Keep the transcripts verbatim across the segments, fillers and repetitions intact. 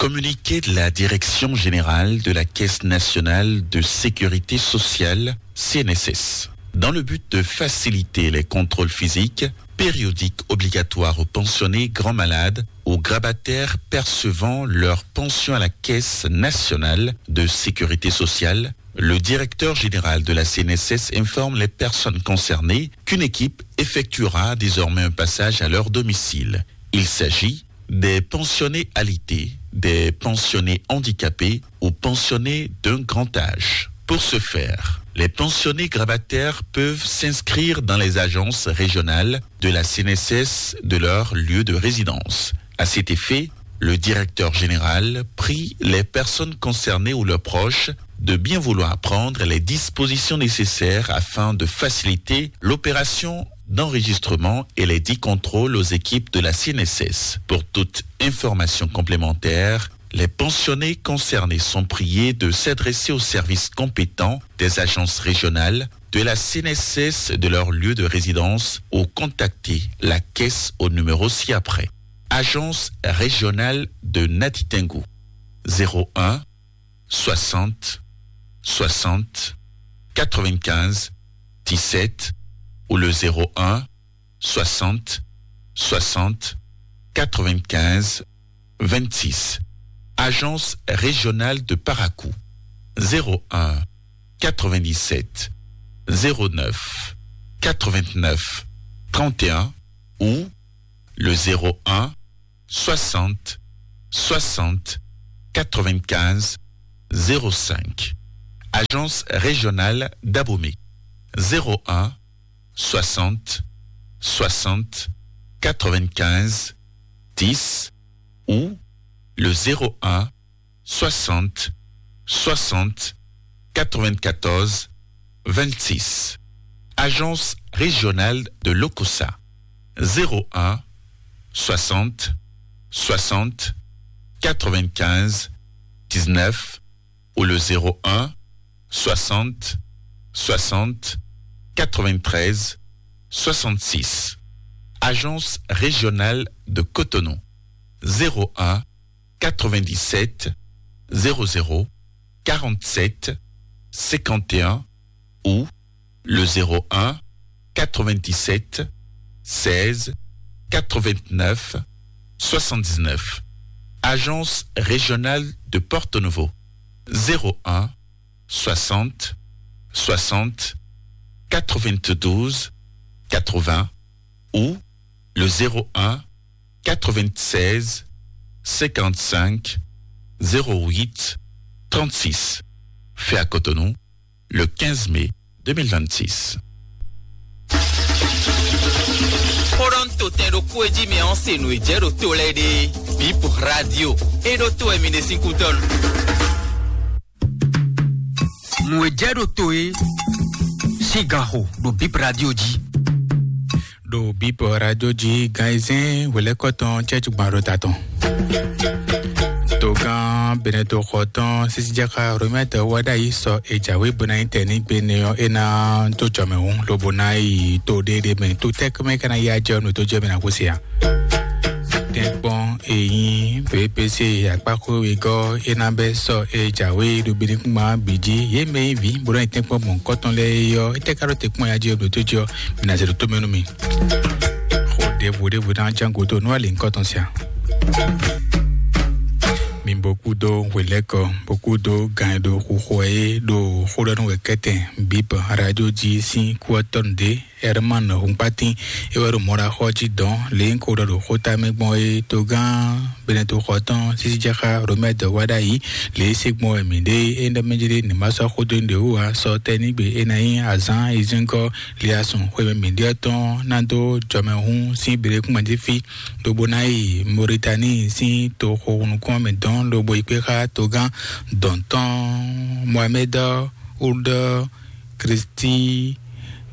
Communiqué de la Direction Générale de la Caisse Nationale de Sécurité Sociale, C N S S. Dans le but de faciliter les contrôles physiques, périodiques obligatoires aux pensionnés grands malades, aux grabataires percevant leur pension à la Caisse Nationale de Sécurité Sociale, le directeur général de la C N S S informe les personnes concernées qu'une équipe effectuera désormais un passage à leur domicile. Il s'agit des pensionnés alité, des pensionnés handicapés ou pensionnés d'un grand âge. Pour ce faire, les pensionnés grabataires peuvent s'inscrire dans les agences régionales de la C N S S de leur lieu de résidence. À cet effet, le directeur général prie les personnes concernées ou leurs proches de bien vouloir prendre les dispositions nécessaires afin de faciliter l'opération d'enregistrement et les dix contrôles aux équipes de la C N S S. Pour toute information complémentaire, les pensionnés concernés sont priés de s'adresser aux services compétents des agences régionales de la C N S S de leur lieu de résidence ou contacter la caisse au numéro ci-après. Agence régionale de Natitengu, zéro un, soixante, soixante, quatre-vingt-quinze, dix-sept, ou le zéro un, soixante, soixante, quatre-vingt-quinze, vingt-six. Agence régionale de Parakou, zéro un, quatre-vingt-dix-sept, zéro neuf, quatre-vingt-neuf, trente et un, ou le zéro un, soixante, soixante, quatre-vingt-quinze, zéro cinq. Agence régionale d'Abomey, zéro un, soixante, soixante, quatre-vingt-quinze, dix, ou le zéro un, soixante, soixante, quatre-vingt-quatorze, vingt-six. Agence régionale de l'Okosa, zéro un, soixante, soixante, quatre-vingt-quinze, dix-neuf, ou le zéro un, soixante, soixante, quatre-vingt-treize, soixante-six. Agence régionale de Cotonou, zéro un, quatre-vingt-dix-sept, zéro zéro, quarante-sept, cinquante et un, ou le zéro un, quatre-vingt-dix-sept, seize, quatre-vingt-neuf, soixante-dix-neuf. Agence régionale de Porto Novo, zéro un, soixante, soixante, quatre-vingt-douze, quatre-vingts, ou le zéro un, quatre-vingt-seize, cinquante-cinq, zéro huit, trente-six. Fait à Cotonou, le quinze mai deux mille vingt-six. Xó ɖɔ nú to tɛn ɖokpó e jí mi ɔ́ se nǔ e jɛ ɖo to lɛ́ɛ ɖe. Bip Radio. E ɖo to wɛ mi ɖe sín kútɔ́ nu. Nǔ e jɛ ɖo to e sín ganxo ɖo Bip Radio jí. Ɖo Bip Radio jí gan ayizɛ́n hwelɛ́kɔ tɔn cɛ́jú gban ɖo ta tɔn. Togán Benɛto xɔ tɔn sisijɛxa Romɛtɔ wá ɖ'ayǐ sɔ e jǎwe bó ná nyí tɛ̌nigbe nɛ ɔ́, é ná dó jɔmɛ hǔn lobo ná yi to ɖé ɖé mɛ. To tɛ́ mɛ ka ná yá jɛ ɔ́, nǔ tó jɛ mɛ ná gosín a? Tɛ́nkpɔ́n e nyí B P C akpáxwé wegɔ́ é ná bɛ́ sɔ e jǎwe ɖo Benɛkúngban bǐ jí. Yě mɛ nyí vǐ bó ná yi tɛ́nkpɔ́n mɔ̌hunkɔtɔn lɛ́ɛ é ɔ́, étɛ́ ka ɖo te kpɔ́n ya jí ɔ́, nǔ tó jɛ ɔ́, mi ná zɛ ɖo tó mɛ nú mi. Xó ɖěvo ɖěvo ná ján gǔdo nú alǐ nukɔn tɔn sia. Mi bó kúdó hwelɛ́kɔ, bó kúdó gan e ɖo xuxo wɛ é ɖo xó ɖɔ nú wɛ kɛ́tɛn Bip Radio jí sín kú ɔ́ tɔ́ nǔɖé. Herman Hunkpatin é wɛ ɖo mɔ̌ ɖo axɔ́ jí dɔn lě nyí ko ɖɔ ɖo xóta mɛ gbɔn é. Togán Benɛto xɔ tɔn sísí jɛ xá Romɛ́ dɔ̌wá ɖ'ayǐ lě e é se gbɔn wɛ mǐ ɖe é. Ényí ɖɔ mɛ jlé ní ma sɔ́ xó dó nyi ɖě wú ǎ, sɔ tɛ́ ní gbe é ná nyí azǎn e zíngɔ́ Liasun xwemɛ mǐɖée ɔ́ tɔn ná dó jɔmɛhún sín Beɖekúngban jí fí, lobo ná yi Mɔritani sín toxo nukún ɔ́ mɛ dɔn, lobo yi kpé xá togán dɔ̌n tɔn Mohamɛ́d Ould Kristi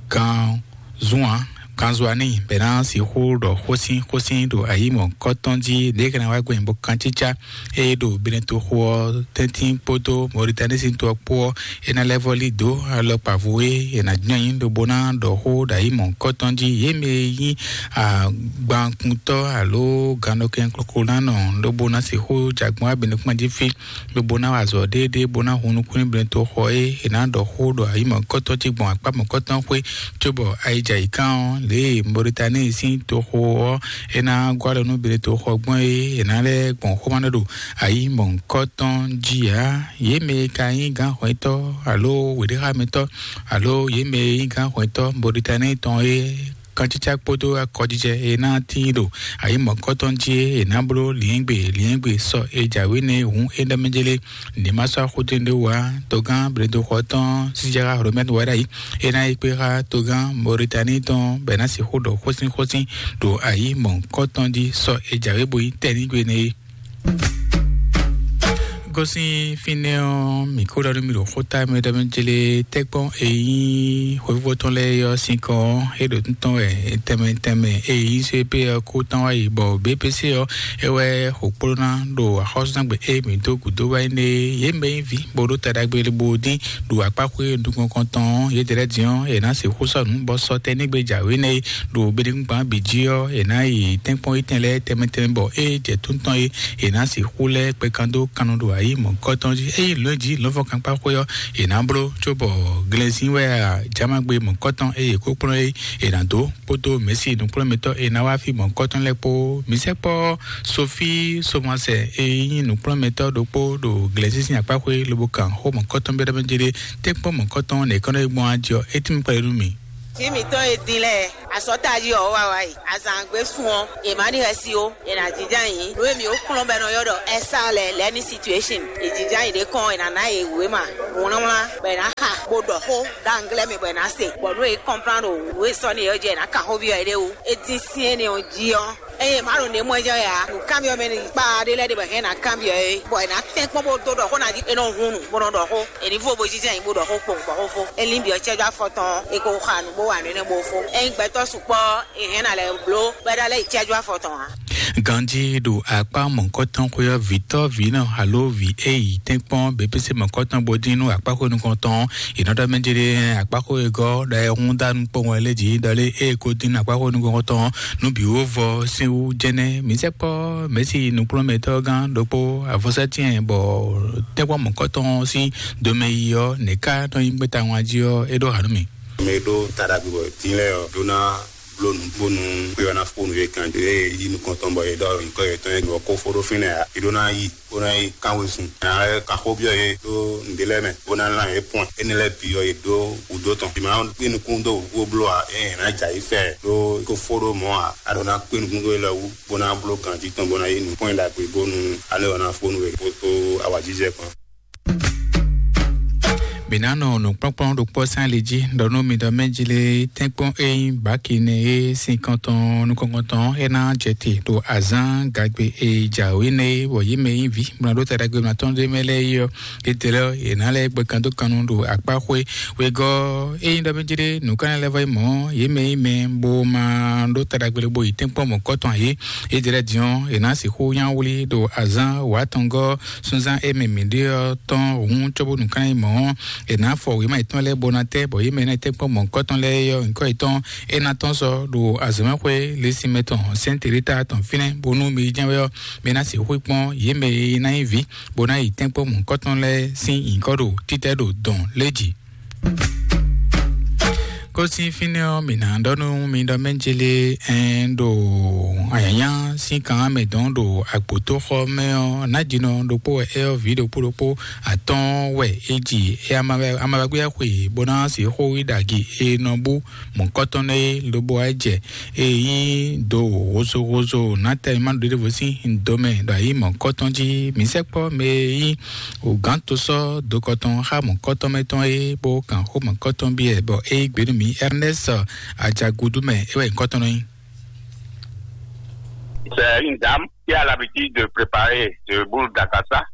Gan Zuan kanzwa n'i bɛ ná sixú ɖɔ xósin xósin ɖo ayǐ mɔ̌hunkɔtɔn jí ɖě e ka ná wá gbɛn bɔ kancícá e ɖo Benetoxo ɔ́ tɛ́ntin kpódó Mɔritani sín to ɔ́ kpó ɔ́, é ná lɛ́ vɔ́ lí dǒ alɔkpa vo e è nǎ jlɛ́n nyí lobo ná ɖɔ xó ɖo ayǐ mɔ̌hunkɔtɔn jí. Yě mɛ e nyí agbankuntɔ́ alo gannɔkɛn koklónánɔ lobo ná sixú jɛ agbɔn wá Benekpán jí fí lobo ná wa azɔ̌ ɖéeɖée bó ná hun nukún nú Benetoxo e è nǎ ɖɔ xó ɖo ayǐ mɔ̌hunkɔtɔn jí gbɔn akpá mɔ̌hunkɔtɔn xwé cóbɔ ayijɛ yǐ kán ɔ́, lě e Mɔritani sín toxo ɔ́ é ná gɔ́ alɔ nú Benetoxo gbɔn é è nǎ lɛ́ gbɔn xóma ɖó ɖo ayǐ mɔ̌hunkɔtɔn jí ǎ. Yě mɛ e ka nyí gǎnxwɛ́tɔ́ alo wěɖéxámɛtɔ́ alo yě mɛ e nyí gǎnxwɛ́tɔ́ Mɔritani tɔn é kancícá kpódó akɔjijɛ e ná tíin ɖo ayǐ mɔ̌hunkɔtɔn jí é è nǎ bló lǐɛ́ngbe lǐɛ́ngbe sɔ e jǎwe nɛ́ hǔn é ɖɔ mɛ jélé ní ma sɔ́ axúdúnɖéwú ǎ. Togán Bledoxɔ tɔn Sijara Romɛ́n wɛ ɖ'ayǐ é ná yi kpé xá togán Moritani tɔn bɔ è nǎ sixú ɖɔ xósínxósín ɖo ayǐ mɔ̌hunkɔtɔn jí sɔ e jǎwe bo nyí tɛ́nnígbe nɛ́ é. Gosín fínɛ́ ɔ́, mǐ kó ɖɔ nú mi ɖo xóta mɛ ɖɔ mɛ jlé tɛ́kpɔ́n e nyí xwéfúvɔ́ tɔn lɛ́ɛ ɔ́ sín kɔn ɔ́, é ɖo títɔn wɛ tɛnmɛ tɛnmɛ e nyí C P ɔ́ kó tán wá yi, bɔ B P C ɔ́ é wɛ xo kplɔ́ ná ɖo axɔ́súzángbe e mǐ dó gǔdo wá é nɛ́ é. Yě mɛ nyí vǐ bó ɖó ta ɖagbe bó dín ɖo akpáxwé nukɔn tɔn ɔ́, yědɛɛ lɛ́ɛ din ɔ́, è nǎ sixú sɔ́ nǔ bɔ sɔ́ tɛ́ nɛ́ gbe jǎwe nɛ́ é ɖo Benɛkúngban bǐ jí ɔ́, è nǎ yi tɛ́nkpɔ́n yětɛn lɛ́ɛ tɛnmɛ tɛnmɛ bɔ ée jɛ tóntɔn é, è nǎ sixú lɛ́ kpɛkan dó kan nɔ ɖo ayǐ mɔ̌hunkɔtɔn jí. Ényí lǒ jí lɔ̌nfɔ́nkankpáxwé ɔ́, è nǎ bló cóbɔ glɛzín wɛ a jámagbe mɔ̌hunkɔtɔn e yě kó kplɔ́n é, è nǎ dó kpódó mɛ̌si nǔkplɔ́nmɛtɔ́ e ná wá fí mɔ̌hunkɔtɔn lɛ́ɛ kpó. Mǐ sɛkpɔ́ Sofí Somasɛ e nyí nǔkplɔ́nmɛtɔ́ ɖokpó ɖo glɛzín sín akpáxwé lobo kan xó mɔ̌hunkɔtɔn byɔ́ ɖɔ mɛ jí ɖé, tɛ́nkpɔ́n mɔ̌hunkɔtɔn nɛ̌ kɔ́ nɔ yi gbɔn a jí ɔ́, é tín kpɛɖé nú mì. Vǐ mǐtɔn e din lɛ́ɛ, azɔ̌ tají ɔ́ wá wá yi. Azǎngbe sun ɔ́, è má ɖi xɛsi ó, è nǎ jínjɔ́n ayǐ. Nǔ e mǐ ó kplɔ́n bɔ è nɔ ylɔ́ ɖɔ ɛ́sá lɛ́ɛ lɛ́ɛ ní situéṣin. È jínjɔ́n ayǐ ɖé kɔn, è nǎ ná yě wěma wlánwlán, bɔ è nǎ xa, bó ɖɔ xó ɖo anglɛ́ mɛ, bɔ è nǎ se. Bɔ nǔ e é kɔnplán ɖo nǔ e sɔ́ n'i ɔ́ jí, è nǎ kan xó byɔ́ yě ɖé wú. É dín syɛ́n nɛ́ ɔ́ jí ɔ́, ényí è má ɖo nǔ e mɔ ɛ jɛ wɛ ǎ, nǔkanbyɔ́ mɛ ní kpa ɖé lɛ́ɛ ɖe bɔ è hɛn ná kanbyɔ́ é, bɔ è nǎ tɛ́n kpɔ́n bó dó ɖɔ xó ná jí, é nɔ hun nǔ, bó nɔ ɖɔ xó. È ní vo bo jínjɔ́n ayǐ bó ɖɔ xó kpowun bɔ xó fó. É lín byɔ́ cɛ́jú afɔ tɔn ɔ́, é ko xa nǔ bó wa nǔ énɛ́ bó fó. Ényí gbɛtɔ́ sukpɔ́ ɔ́, è hɛn ná lɛ́ bló bɔ é ná lɛ́ yi cɛ́jú afɔ tɔn ǎ. Ganjí ɖo akpá mɔ̌hunkɔtɔn xwé ɔ́, vǐtɔ́ vǐ nɔ alo vǐ e yi tɛ́nkpɔ́n B P C mɔ̌hunkɔtɔn bó dín nú akpáxwé nukɔntɔn ɔ́, è nɔ ɖɔ mɛ jɛ ɖe akpáxwé e gɔ́ ɖɔ é hún dá nukpɔ́n wɛ lé jí ɖɔ lé e ko dín nú akpáxwé nukɔntɔn ɔ́, nú bǐ wó vɔ sín wú jɛnɛ. Mǐ sɛkpɔ́ mɛ̌si nukplɔ́nmɛtɔ́ gán ɖokpó avɔsɛ́tyɛn bɔ tɛ́nkpɔ́n mɔ̌hunkɔtɔn ɔ́ sín domɛ yi ɔ́, nɛ̌ ká nɔ nyí gbɛ́ta wán jí ɔ́, é ɖó ha nú mì. Mɛ e ɖó ta ɖagbe bɔ dín lɛ́ɛ ɔ́ ɖó ná bló nǔ bónú xwé ɔ́ ná fó nǔ e kan e yi nukɔn tɔn bɔ è ɖɔ nyǐkɔ yětɔn e nǔ ɔ́ ko fó ɖó fínɛ́ ǎ. È ɖó ná yi bó ná yi kán wezun. Nya lɛ́ɛ ka xó byɔ́ yě ɖó nǔɖé lɛ́ɛ mɛ, bó ná lan yě pɔn. Énɛ́ lɛ́ɛ bǐ ɔ́, yě ɖó wǔdó tɔn. È má kpé nukún dó wǔ bó bló ǎ, ée è nǎ jɛ ayǐ fɛ ɖó kó fó ɖó mɔ̌ ǎ. A ɖǒ ná kpé nukún dó yě lɔ wú, bó ná bló ganjí tɔn, bó ná yí nǔkpɔ́n ɖagbe bónú alé ɔ́ ná fó nú we kpódó awǎjijɛ kpán. Mǐ ná nɔ nǔkplɔ́nkplɔ́n ɖokpó sín ali jí ɖɔ nú mi ɖɔ mɛ jí lé tɛ́nkpɔ́n e nyí bǎki nɛ e sín kɔntɔn nukɔntɔn é ná jɛ te ɖo azǎn gagbe e jǎwe nɛ é, bɔ yě mɛ e nyí vǐ mlɔ́ ɖó ta ɖagbe mlɔ́ tɔn ɖé mɛ lɛ́ɛ é ɔ́, étɛlɛ ɔ́, yě ná lɛ́ gbɛ kan dó kan nu ɖo akpáxwé wegɔ́. Ényí ɖɔ mɛ jí ɖé nǔkanlɛ́ lɛ́ɛ vɔ nyí mɔ̌, yě mɛ e nyí mɛ bó ma ɖó ta ɖagbe bo yi tɛ́nkpɔ́n mɔ̌kɔtɔn ǎ é, étɛlɛ din ɔ́, yě ná sixú nyá wlí ɖo azǎn wǎtɔngɔ́ súnzán e mɛ mǐ ɖe ɔ́ tɔn hǔn cóbónú kán nyí mɔ̌ ɔ́, è nǎ fɔ wěma yětɔn lɛ́ɛ bó ná tɛ́, bɔ yě mɛ ná tɛ́ kpɔ́n mɔ̌hunkɔtɔn lɛ́ɛ é ɔ́, nyǐkɔ yětɔn é ná tɔ́n sɔ ɖo azɔ̌mɛxwé Lesinmɛ tɔn Sɛ́ntelita tɔn fínɛ́, bónú mi yi jɛ́n wɛ ɔ́, mi ná sixú kpɔ́n yě mɛ e ná nyí vǐ bó ná yi tɛ́nkpɔ́n mɔ̌hunkɔtɔn lɛ́ɛ sín nyǐkɔ ɖo títɛ́ ɖo dɔ̌n lé jí. Kó sín fínɛ́ ɔ́, mǐ ná ɖɔ nú mi ɖɔ mɛ jélé ɛn ɖo anyǎnyá sín kan mɛ dɔn ɖo agbotóxɔ mɛ ɔ́, nǎjínɔ ɖokpó wɛ é ɔ́, vǐ ɖokpó ɖokpó atɔ́ɔ́n wɛ é ji. É amavagwéyá xwe bó ná sixú yi ɖagǐ e nɔ bú mɔ̌kɔtɔn nɛ́ é, lobo wá jɛ e nyí do hozohozo nátɛn ma ɖo ɖěvo sín domɛ ɖo ayǐ mɔ̌kɔtɔn jí. Mǐ sɛkpɔ́ mɛ e nyí wǒgántosɔ́ dokɔtɔn xá mɔ̌kɔtɔn mɛ tɔn é, bó kan xó mɔ̌kɔtɔn byɔ́ ɛ, bɔ é yí gbe nú mǐ. Ernest Ajagudu mɛ é wɛ nyǐkɔ tɔn nɔ nyí. C'est une dame qui a l'habitude de préparer de boule d'akasa.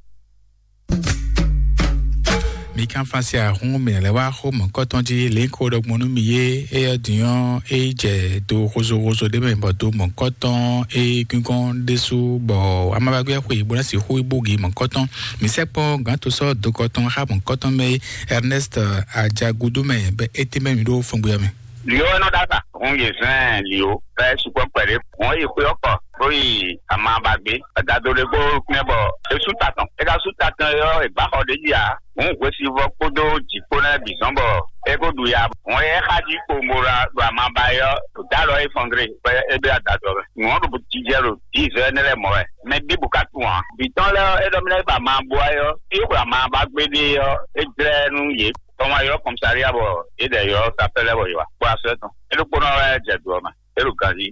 Mi kan fasi ahun mi lɛ wá xó mɔ̌kɔtɔn jí lě ko ɖɔgbɔn nú mi yé. Éyɔ dǐnyɔ́ é jɛ do xozoxozo ɖé mɛ bɔ do mɔ̌kɔtɔn é gíngɔn ɖésú bɔ amabagbé xwe bó ná sixú búgi mɔ̌kɔtɔn. Mi sɛkpɔn gǎn to sɔ́ dokɔtɔn xá mɔ̌kɔtɔn mɛ é. Ernest Ajagudu mɛ bɛ é tɛ́ mɛ mi ɖó fɔngbé ɔ́ mɛ. Liɔ ɛnɔ ɖaka hun yě zɛn liɔ fɛ sukpɔ kpɛɖé hun yi xwé ɔkɔ bó yi ama ba gbé. Egado ɖé kó kpɛn bɔ é sú ta tɔn é ka sú ta tɔn yɔ è gbá xɔ ɖé jí ǎ. Hun hwesivɔ kpódó jǐ kpó nɛ́ bǐ zɔn bɔ é kó ɖu ya. Hun é xa jí kpombo ɖo ama ba yɔ ɖo dá lɔ é fɔn gré bɔ é bɛ adadɔ mɛ. Nǔ ɔ́ ɖo jijɛ ɖo dix heures nɛ́ lɛ́ɛ mɔ wɛ. Mɛ bíbù ka tunwun ǎ. Bǐ tɔn lɛ́ɛ ɔ́, é ɖɔ mì lɛ́ ba ama bo ayɔ. Fí é xwe ama ba gbé ɖe ɔ́, é jlɛ́ nú yě. Tɔn wá ylɔ́ kɔmsária bɔ yě ɖɛ ylɔ́ sapɛ́ lɛ́ɛ bɔ yě wá kpó asɔ́ tɔn. É ɖokpónɔ wɛ jɛ do ɔ́ mɛ. É ɖo ganjí.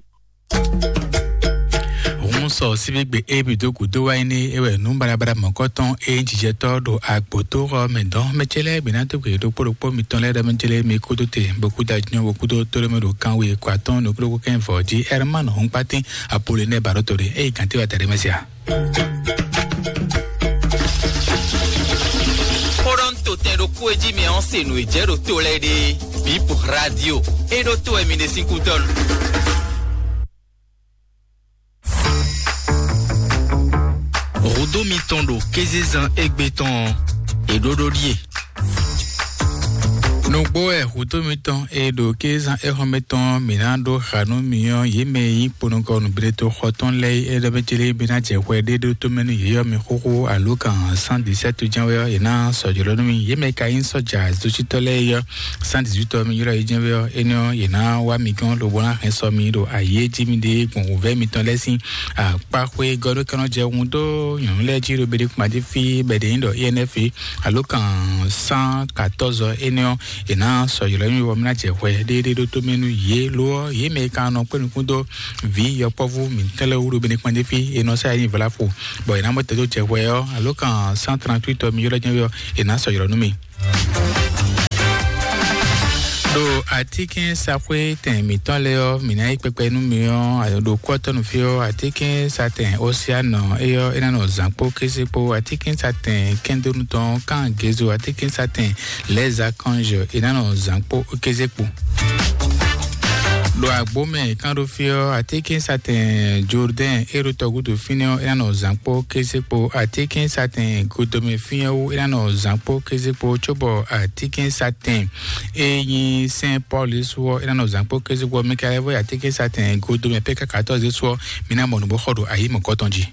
Hun sɔ síbígbe é bǐ dó gǔdo wá nyí é wɛ nǔ baɖabaɖa mɔ̌kɔtɔn é nyí jijɛtɔ́ ɖo agbǒtóxɔ mɛ dɔn. Mɛ ce lɛ́ɛ bǐ ná dó gbe ɖokpó ɖokpó mitɔn lɛ́ɛ ɖɔ mɛ ce lɛ́ɛ mi kúdó te bó kúdó ajínɔ bó kúdó tóɖémɛ ɖo kanwe kɔ atɔ́ɔ́n nukúnɖókú kɛ́n vɔ̌ jí. Ɛrmán Hɔnkpátín Apolonɛ́ɛ Baɖóto ɖe é yi gǎntéwa tɛɖé mɛ sia. Kpɔɖɔn to tɛn ɖo kú e jí mi ɔ́ se nǔ e jɛ ɖo to lɛ́ɛ ɖe. Bip radio. E ɖo to wɛ mi ɖe sín kú dɔn. Rodo mitɔn ɖo kézezan égbé tɔn ɔ́, è ɖó ɖó ɖíe. Nǔgbó wɛ hǔtó mitɔn e ɖo kézan éhɔ́mɛ tɔn mǐ ná ɖó xa nú mi ɔ́, yě mɛ e nyí kponɔkɔ nǔblétoxɔ tɔn lɛ́ɛ é ɖɔ mɛ ce lɛ́ɛ bí ná jɛ hwɛ ɖé ɖó tó mɛ nú yě ɔ́, mi xóxó alo kan cent dix-sept jɛ́n wɛ ɔ́, yě ná sɔjlɔ́ nú mi. Yě mɛ ka nyí sɔ́ja dǒsítɔ́ lɛ́ɛ é ɔ́, cent dix-huit ɔ́ mi ylɔ́ yě jɛ́n wɛ ɔ́, énɛ́ ɔ́, yě ná wá mi gɔ́n lobo ná hɛn sɔ mi ɖo ayǐ e jí mi ɖe gbɔn wǔvɛ́ mitɔn lɛ́ɛ sín akpáxwé gɔ́ ɖó kɛ́nɔ jɛ hun dó nyɔ̌nu lɛ́ɛ jí ɖo beɖé kpán jí fí bɛ̌ ɖě nyí ɖɔ I N F alo kan cent quatorze ɔ́, énɛ́ ɔ́, è nǎ sɔ́ ylɔ́ nyi wɔ mí ná jɛ hwɛ ɖéɖé ɖó tó mɛ nú yě. Lo ɔ́, yě mɛ e ka nɔ kpé nukún dó vǐ yɔkpɔ́vú mǐtɔn lɛ́ɛ wú ɖo beɖé kpán jí fí, è nɔ sá yě nyi vlafo, bɔ è nǎ mɔ tɛ́ dó jɛ hwɛ ɔ́, alo kan cent trente-huit ɔ́, mi ylɔ́ jɛ́n wɛ ɔ́, è nǎ sɔ́ ylɔ́ nú mi. Ɖo atínkɛ́nsaxwé tɛn mǐtɔn lɛ́ɛ ɔ́, mǐ ná yí kpɛkpɛ nú mi ɔ́, ɖo kú ɔ́ tɔ́ nú fí ɔ́, atínkɛ́nsatɛn Osianɔ é ɔ́, é ná nɔ zǎn kpó kéze kpó, atínkɛ́nsatɛn kɛ́ndónú tɔn Kángezo, atínkɛ́nsatɛn Lɛ̌zakanzɔ, é ná nɔ zǎn kpó kéze kpó. Ɖo agbǒ mɛ kán ɖó fí ɔ́, atínkɛ́nsatɛn Jordɛ́n é ɖo tɔgúdo fínɛ́ ɔ́, é ná nɔ zǎn kpó kéze kpó, atínkɛ́nsatɛn Godomɛ fínɛ́ wú, é ná nɔ zǎn kpó kéze kpó, cóbɔ atínkɛ́nsatɛn é nyí Sɛ́n Pɔ́lu é su ɔ́, é ná nɔ zǎn kpó kéze kpó. Mi ka lɛ́ vɔ́ yi atínkɛ́nsatɛn Godomɛ pé káká tɔ́ zé su ɔ́, mi ná mɔ nǔ bó xɔ ɖo ayǐ mɔ̌kɔtɔn jí.